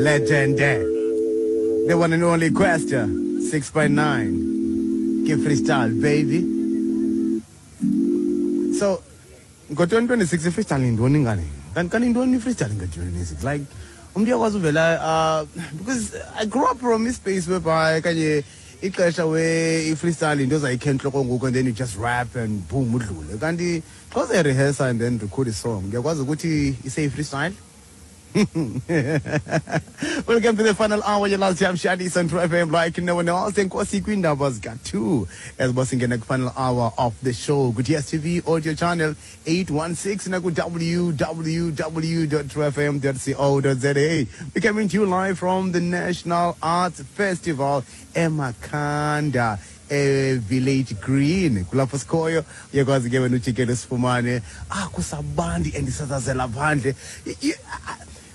Legend, the one and only Kwesta 6 by 9. Give freestyle, baby. So ngo-2026 i-freestyle yintoni ngane? Kanti yintoni i-freestyle ngo-2026? Like umntu uyakwazi uvela, because I grew up from ispace whereby kanye ixesha where i-freestyle into ozayikhe entloko ngoku and then you just rap and boom, udlule. Kanti xa uzayirehearsa and then record a song, ngiyakwazi ukuthi iseyi-freestyle. Welcome to the final hour, your last time Shandis on True FM like no one else. Enkosi kwiindaba zika-2 as basingena final hour of the show ku-DStv audio channel 816 naku www.truefm.co.za. We coming to you live from the National Arts Festival eMakhanda, e-Village Green. Kulapho sikhoyo. Uyakwazi ke wena ujikele sifumane. Kusabandi and isazazela phandle.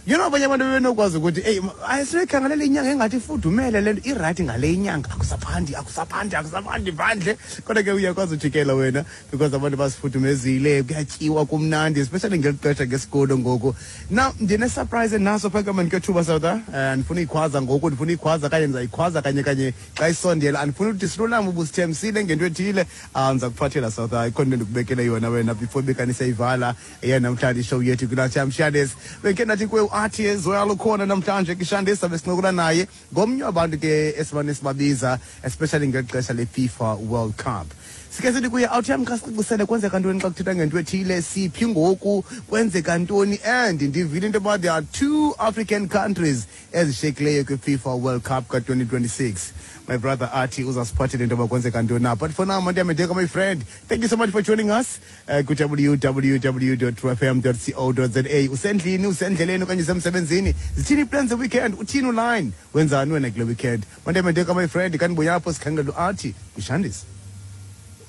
Abanye abantu bebenokwazi ukuthi eyi, ayisiyoyikhangela inyanga engathi ifudumele le nto irayithi ngale inyanga, akusaphandi, akusaphandi, akusaphandi phandle. Kodwa ke uyakwazi ujikela wena because abantu basifudumezile, kuyatyiwa, kumnandi, especially ngeli xesha ngesikolo ngoku. Now ndine-surprise naso phaka mani kethuba sawuta. Ndifuna uyikhwaza ngoku, ndifuna uyikhwaza kanye, ndizayikhwaza kanye kanye xa isondela. Andifuni ukuthi silulame ubusithembisile ngento ethile. Ndiza kuphathela sawuta, ikhona into endikubekele yona wena before ibekaniseyivala eyanamhlanje ishow yethu kwiLunchtime Shandis. Bendikhe ndathi kuwe uArtie as well ukhona namhlanje kwiShandis, sabe sincokola naye, ngomnye wabantu ke esimane sibabiza, especially ngeli xesha le-FIFA World Cup. Sike sithi kuye, awuthi yam, xa sicacisele kwenzeka ntoni xa kuthethwa ngento ethile, siphi ngoku, kwenzeka ntoni. And ndivile into yoba there are two African countries ezishiyekileyo kwi-FIFA World Cup ka-2026. My brother Athi uzasiphathela into yoba kwenzeka ntoni na. But for now, Mandiyamedeka, my friend, thank you so much for joining us ku-www.truefm.co.za. Usendlini, usendleleni okanye usemsebenzini, zithini ii-plans ze-weekend, uthini uline, wenzani wena kule weekend? Mandiyamedeka, my friend, kanti buyapho sikhangela uAthi kwishandis.